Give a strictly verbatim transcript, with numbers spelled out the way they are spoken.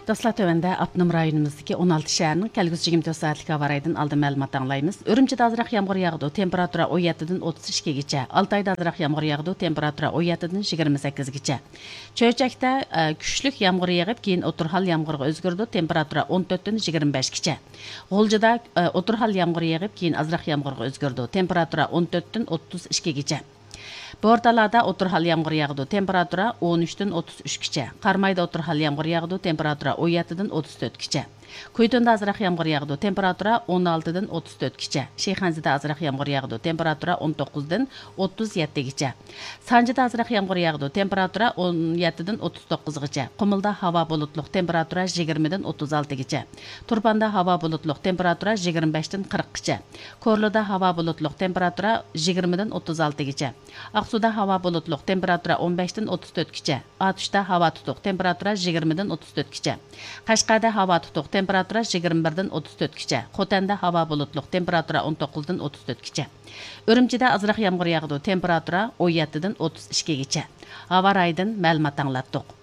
دوستلار، تۆۋەندە ئاپتونوم رايونىمىزدىكى ئون ئالتە شەھەرنىڭ كەلگۈسى يىگىرمە تۆت سائەتلىك ھاۋا رايىدىن ئالدىن مەلۇمات ئاڭلايمىز. ئۈرۈمچىدە ئازراق يامغۇر ياغىدۇ، تېمپېراتۇرا ئون يەتتىدىن ئوتتۇز ئىككىگىچە. ئالتايدا ئازراق يامغۇر ياغىدۇ، تېمپېراتۇرا ئون يەتتىدىن يىگىرمە سەككىزگىچە. چۆچەكتە، ئە، كۈچلۈك يامغۇر يېغىپ، كېيىن ئوتتۇرا ھال يامغۇرغا ئۆزگىرىدۇ، تېمپېراتۇرا ئون تۆتتىن يىگىرمە بەشكىچە. غۇلجىدا، ئە، ئوتتۇرا ھال يامغۇر يېغىپ، كېيىن ئازراق يامغۇرغا ئۆزگىرىدۇ، تېمپېراتۇرا ئون تۆتتىن ئوتتۇز ئىككىگىچە. بورتالادا ئوتتۇرا ھال يامغۇر ياغىدۇ، تېمپېراتۇرا ئون ئۈچتىن ئوتتۇز ئۈچكىچە. قارامايدا ئوتتۇرا ھال يامغۇر ياغىدۇ، تېمپېراتۇرا ئون يەتتىدىن ئوتتۇز تۆتكىچە. كۇيتۇندا ئازراق يامغۇر ياغىدۇ، تېمپېراتۇرا ئون ئالتىدىن ئوتتۇز تۆتكىچە. شىخەنزىدە ئازراق يامغۇر ياغىدۇ، تېمپېراتۇرا ئون توققۇزدىن ئوتتۇز يەتتىگىچە. سانجىدا ئازراق يامغۇر ياغىدۇ، تېمپېراتۇرا ئون يەتتىدىن ئوتتۇز توققۇزغىچە. قۇمۇلدا ھاۋا بۇلۇتلۇق، تېمپېراتۇرا يىگىرمىدىن ئوتتۇز ئالتىگىچە. تۇرپاندا ھاۋا بۇلۇتلۇق، تېمپېراتۇرا يىگىرمە بەشتىن قىرىققىچە. كورلىدا ھاۋا بۇلۇتلۇق، تېمپېراتۇرا يىگىرمىدىن ئوتتۇز ئالتىگىچە. ئاقسۇدا ھاۋا بۇلۇتلۇق، تېمپېراتۇرا ئون بەشتىن ئوتتۇز تۆتكىچە. ئاتۇشتا ھاۋا تۇتۇق، تېمپېراتۇرا يىگىرمىدىن ئوتتۇز تۆتكىچە. قەشقەردە ھاۋا تۇتۇق، تېمپېراتۇرا يىگىرمە بىردىن ئوتتۇز تۆتكىچە. خوتەندە ھاۋا بۇلۇتلۇق، تېمپېراتۇرا ئون توققۇزدىن ئوتتۇز تۆتكىچە. ئۈرۈمچىدە ئازراق يامغۇر ياغىدۇ، تېمپېراتۇرا ئون يەتتىدىن ئوتتۇز ئىككىگىچە. ھاۋا رايىدىن مەلۇمات ئاڭلاتتۇق.